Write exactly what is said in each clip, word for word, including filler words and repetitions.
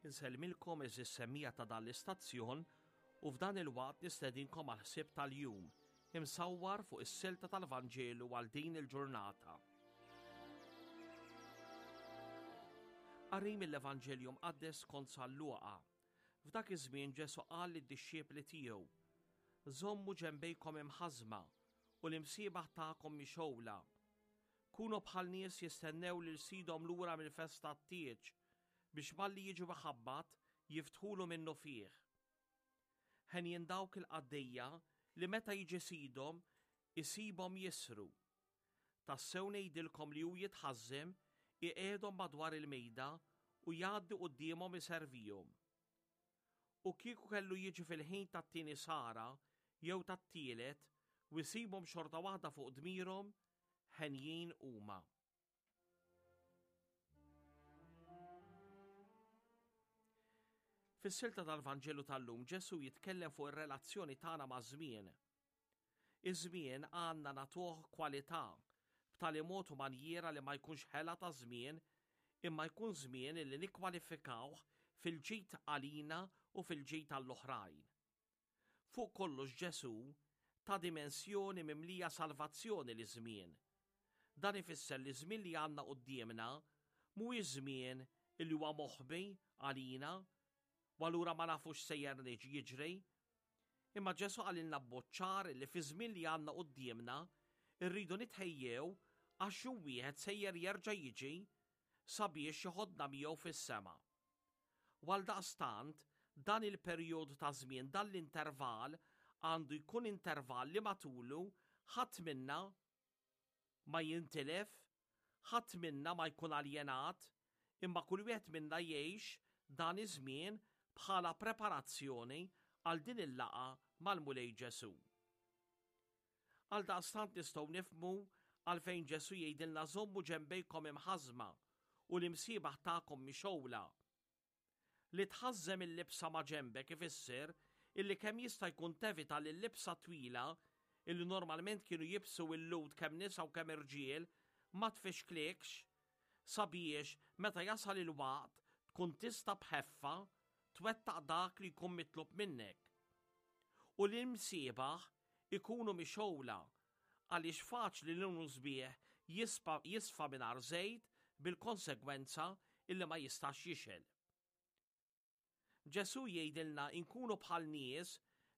Insellmilkom għeżież semmiegħa ta' dan l-istazzjon u f'dan il-waqt nistedinkom għal ħsieb tal-jum imsawwar fuq is-silta tal-Vanġelu għal din il-ġurnata. Qari mill-Evanġelju Mqaddes skont San Luqa. F'dak iż-żmien Ġesù qal lid-dixxiepli tiegħu: Żommu ġenbejkom imħażma u l-imsiebaħ tagħkom mixgħula. Kunu bħal nies jistennew lil sidhom lura mill-festa t-tieġ biex malli jiġu iħabbat jiftħulu minnufih. Henjin dawk il-qaddejja li meta jiġi sidhom isibhom jisru. Tassew ngħidilkom li hu jitħażżem, iqiegħdhom madwar il-mejda u jgħaddi quddiemhom iservihom. U kieku kellu jiġi fil-ħin tat-tieni sara jew tat-tielet u jsibhom xorta waħda fuq dmirhom, henjin huma. Fis-silta tal-Vanġelu tal-lum Ġesù jitkellem fuq ir-relazzjoni tagħna maż-żmien. Iż-żmien għandna nagħtuh kwalità b'tali mod u manjiera li ma jkunx ħela ta' żmien imma jkun żmien li nikkwalifikawh fil-ġid għalina u fil-ġid għall-oħrajn. Fuq kollox Ġesù ta dimensjoni mimlija salvazzjoni liż-żmien. Dan ifisser li ż-żmien li għandna quddiemna mhuwiex żmien li huwa moħbi għalina u allura ma nafux sejjer jiġri. Imma Ġesù qalilna b'mod ċar li fiż-żmien li għandna quddiemna rridu nitħejjew għax jum wieħed sejjer jerġa' jiġi sabiex joħodna miegħu fis-sema. U għaldaqstant dan il-perjodu ta' żmien, dan l-intervall għandu jkun intervall li matulu ħadd minna ma jintilef, ħadd minna ma jkun aljenat, imma kull wieħed minna jgħix dan iż-żmien bħala preparazzjoni għal din il-laqgħa mal-Mulej Ġesù. Għaldaqstant nistgħu nifhmu għalfejn Ġesù jgħidilna żommu ġenbejkom imħażma u l-imsiebaħ tagħkom mixgħula. Li tħażżem il-libsa ma' ġenbek ifisser illi kemm jista' jkun tevita li l-libsa twila illi normalment kienu jibsu il-Lhud kemm nisa u kemm irġiel ma tfixklikx sabiex meta jasal il-waqt tkun tista' b'ħeffa twettaq dak li jkun mitlub minnek. U l-imsiebaħ ikunu mixgħula għaliex faċli li l-musbieħ jisfa mingħajr żejt bil-konsegwenza illi ma jistax jixgħel. Ġesù jgħidilna nkunu bħal nies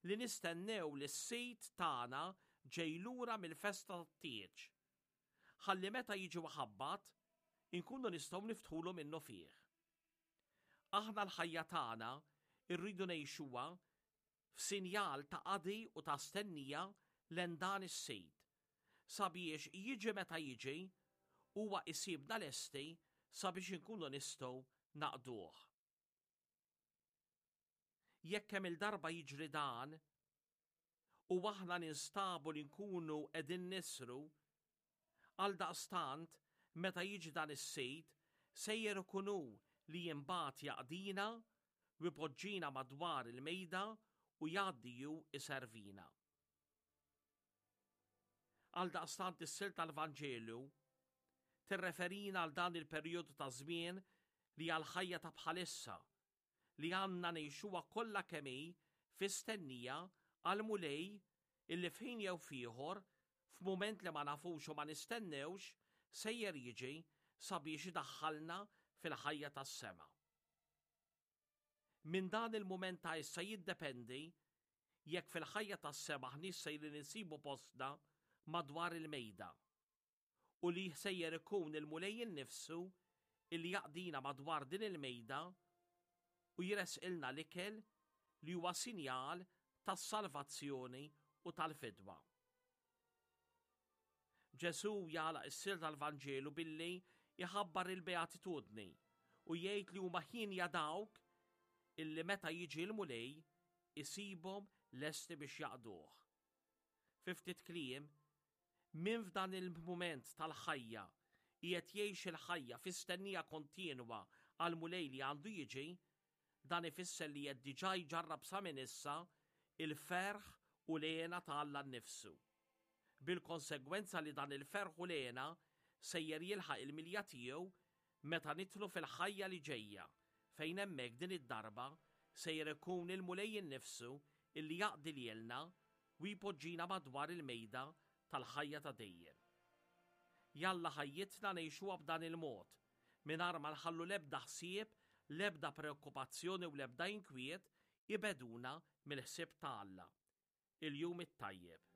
li nistennew li s-sid tagħna ġej lura mill-festa tat-tieġ. Ħalli meta jiġi ħabbat, inkunu nistgħu niftħulu minnufih. Aħna l-ħajja tagħna rridu ngħixuha f'sinjal ta' qadi u ta' stennija lejn dan is-sid, sabiex jiġi meta jiġi huwa isibna lesti sabiex inkunu nistgħu naqduh. Jekk kemm il-darba jiġri dan u aħna ninstabu li nkunu qegħdin nisru, għaldaqstant meta jiġi dan is-sid sejjer ikun hu li imbagħad jaqdina u jpoġġina madwar il-mejda u jgħaddi ju iservina. Għaldaqstant is-silta tal-Vanġelu tirreferina għal dan il-perjodu ta' żmien li għal ħajja ta' bħalissa li għandna ngħixuha kollha kemm hi fi stennija għal Mulej illi f'ħin jew f'ieħor, f'mument li ma nafux u ma nistennewx, sejjer jiġi sabiex idaħħalna fil-ħajja tas-sema. Minn dan il-mument ta' issa jiddependi jekk fil-ħajja tas-sema aħniex sejrin insibu postna madwar il-mejda u li sejjer ikun il-Mulej innifsu illi jaqdina madwar din il-mejda u jresqilna l-ikel li huwa sinjal tas-salvazzjoni u tal-fidwa. Ġesù jagħlaq is-silta tal-Vanġelu billi jħabbar il-beatitudni u jgħid li huma ħienja dawk illi meta jiġi l-Mulej isibhom lesti biex jaqduh. Fi ftit kliem, min f'dan il-mument tal-ħajja qiegħed jgħix il-ħajja fi stennija kontinwa għal Mulej li għandu jiġi, dan ifisser li qed diġà jġarrab sa minn issa il-ferħ u l-hena ta' Alla nnifsu. Bil-konsegwenza li dan il-ferħ u l-hena sejjer jilħaq il-milja tiegħu meta nidħlu fil-ħajja li ġejja, fejn hemmhekk din id-darba sejjer ikun il-Mulej innifsu illi jaqdi lilna u jpoġġina madwar il-mejda tal-ħajja ta' dejjem. Jalla ħajjitna ngħixuha b'dan il-mod, mingħajr ma nħallu l-ebda ħsieb, l-ebda preokkupazzjoni u l-ebda inkwiet ibegħduna mill-ħsieb ta' Alla. Il-jum it-tajjeb.